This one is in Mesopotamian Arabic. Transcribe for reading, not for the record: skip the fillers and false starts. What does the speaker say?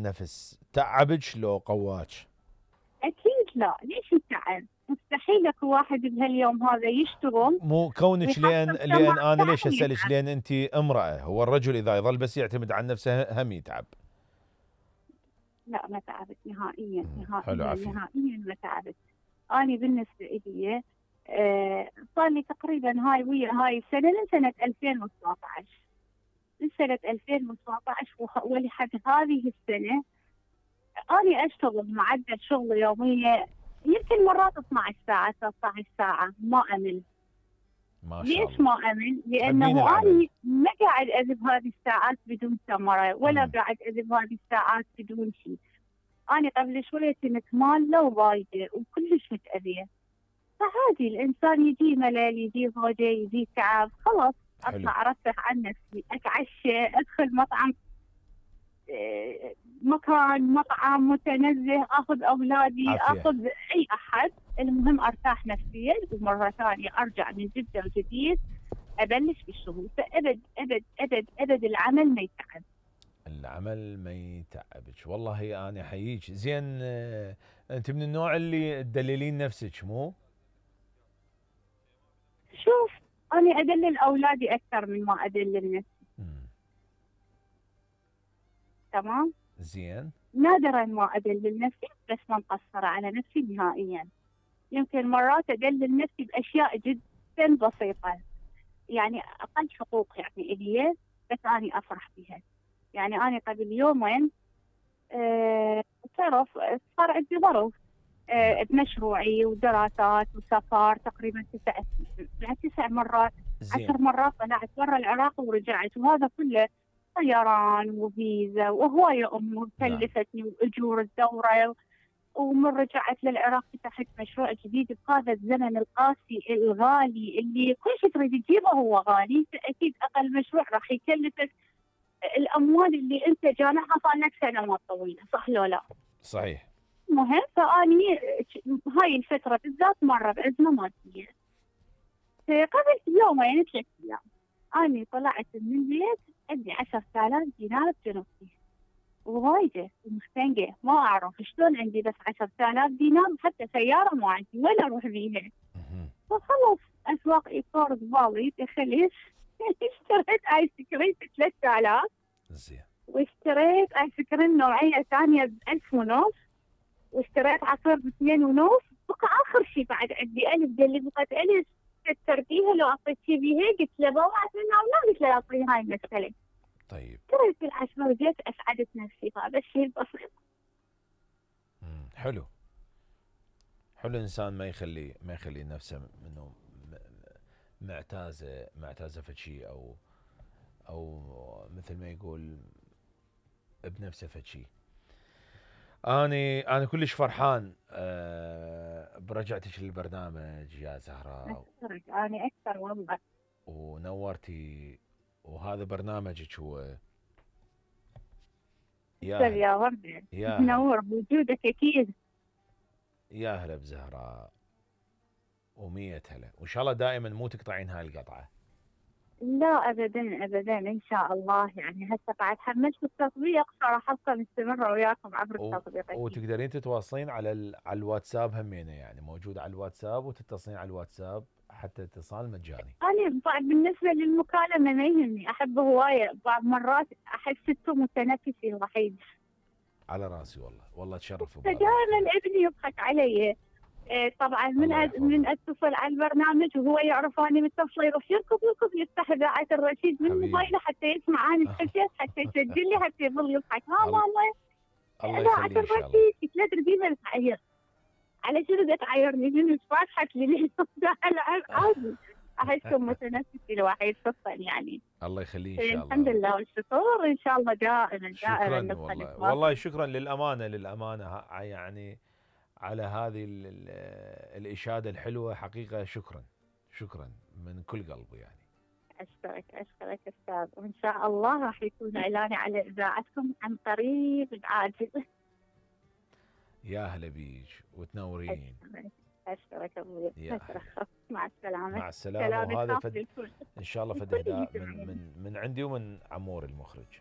نفس تعبك لو قواك؟ اكيد لا، ليش التعب؟ مستحيل اكو واحد بهاليوم هذا يشتغل مو كونك، لان ويحصل كمان انا تعب ليش اسالك؟ ويتعب. لان انت امراه، هو الرجل اذا يظل بس يعتمد على نفسه هم يتعب. لا ما تعبت نهائيا حلو، نهائيا عافيه. نهائيا ما تعبت. أنا بالنسبة لي صار لي تقريبا هاي ويا هاي السنة من سنة 2017. من سنة 2017 ولحد هذه السنة أنا أشتغل معدل شغل يومية يمكن مرات 12 ساعة 13 ساعة ما أمل. ما شاء ليش الله. ما أمل؟ تحبين لأنه العمل. أنا ما قاعد أذب هذه الساعات بدون ثمرة، ولا امم قاعد أذب هذه الساعات بدون شيء. أنا قبل شوية كنت مالة ووايدة وكلش متأذية. فعادي الإنسان يجي ملل، يجي ضوجة، يجي تعب، خلاص حلو. أطلع أرفه عن نفسي، أتعشى، أدخل مطعم، مكان مطعم متنزه، أخذ أولادي، عافيه. أخذ أي أحد، المهم أرتاح نفسيا ومرة ثانية أرجع من جدة وجديد أبلش بالشغل. فأبد أبد أبد أبد العمل ما يتعب. العمل ما يتعبك، والله انا احييك. زين، انت من النوع اللي تدللين نفسك مو؟ شوف، أنا أدلل أولادي أكثر من ما أدلل نفسي. مم. تمام. زين. نادرا ما أدلل نفسي، بس ما مقصرة على نفسي نهائيا. يمكن مرات أدلل نفسي بأشياء جدا بسيطة، يعني أقل حقوق يعني إلي، بس أنا أفرح بها. يعني أنا قبل يومين تعرف صار عندي ظرف نعم. بمشروعي ودراسات وسفر تقريبا 9 مرات، زين. 10 مرات طلعت برا العراق ورجعت، وهذا كله طيران وفيزا وهواية أمور نعم. كلفتني وأجور الدورة. ومن رجعت للعراق فتحت مشروع جديد بهذا الزمن القاسي الغالي اللي كل شيء تريد تجيبه هو غالي، فأكيد أقل مشروع راح يكلفك الأموال اللي أنت جامعها صار لك سنوات طويلة، صح لو لا؟ صحيح. مهم. فأني هاي الفترة بالذات مرة بأزمة مادية. قبل يومين 3 أيام أنا طلعت من البيت عندي 10,000 دينار بجنبتي، ووايدة ومختنقة، ما أعرف شلون عندي بس 10,000 دينار، وحتى سيارة ما عندي ولا أروح بيها. مهم. فخلص أسواق إيطار ببالي دخلت اشتريت آيس كريم ب 3,000، زين. واشتريت آيس كريم نوعية ثانية ب1,500، واشتريت عصير ب2,500. بقى آخر شيء بعد عندي ألف دلي بقت ألف ترتيبها لو أعطيتي بيها، قلت له بابا عطينا ولا، قلت له أعطيه هاي المسألة. طيب. اشتريت العشرة وجيت أسعدت نفسي، هذا الشيء البسيط. حلو. حلو الانسان ما يخلي نفسه منه معتازه في شيء، او مثل ما يقول بنفسه في شيء. انا كلش فرحان برجعتك للبرنامج يا زهراء. أشكرك أنا أكثر والله. ونورتي. وهذا برنامجك هو. يا أشكر هلا. يا وردة، يا هلا. منور بوجودك أكيد. يا هلا بزهراء. ومية هلا، وان شاء الله دائما مو تقطعين هاي القطعه. لا أبدا أبدا إن شاء الله. يعني هسه بعد حملت التطبيق فراح أبقى مستمرة وياكم عبر التطبيق أكيد. وتقدرين تتواصلين على الواتساب همينه، يعني موجود على الواتساب، وتتصلين على الواتساب حتى اتصال مجاني. أنا بالنسبة للمكالمة ما يهمني، أحب هواية، بعض مرات أحس إنه متنفسي الوحيد. على راسي والله، والله تشرف فدائما بمقابلتك. ابني يضحك علي. طبعا الله من يحفظه. اتصل على البرنامج وهو يعرف اني متصله يروح يركض يركض يفتح اذاعه الرشيد من حبيبي. موبايله حتى يسمع اني حكيت، حتى يسجل لي، حتى يظل يضحك. ها الله ماما الله اذاعه يخليه ان شاء الله. الرشيد، قلت له تريدي ما تعير على شنو تعيرني من فاتحت لي عادي. احسه متنفسي الوحيد خصوصا يعني. الله يخليه ان شاء الحمد الله. لله والشكر، ان شاء الله دائما دائما شكرا نبقى والله، نتواصل. والله شكرا للامانه يعني على هذه الاشاده الحلوه، حقيقه شكرا. شكرا من كل قلبي يعني. أشكرك أشكرك أستاذ، وإن شاء الله راح يكون إعلاني على إذاعتكم عن قريب عاجل. يا هلا بيج وتنورين. أشكرك أشكرك أبوي، يا هلا. أشكرك. مع السلامة. مع السلامه. سلام وهذا الخاص للكل. ان شاء الله فد الكل اهداء يسمعني. من عندي ومن عمور المخرج.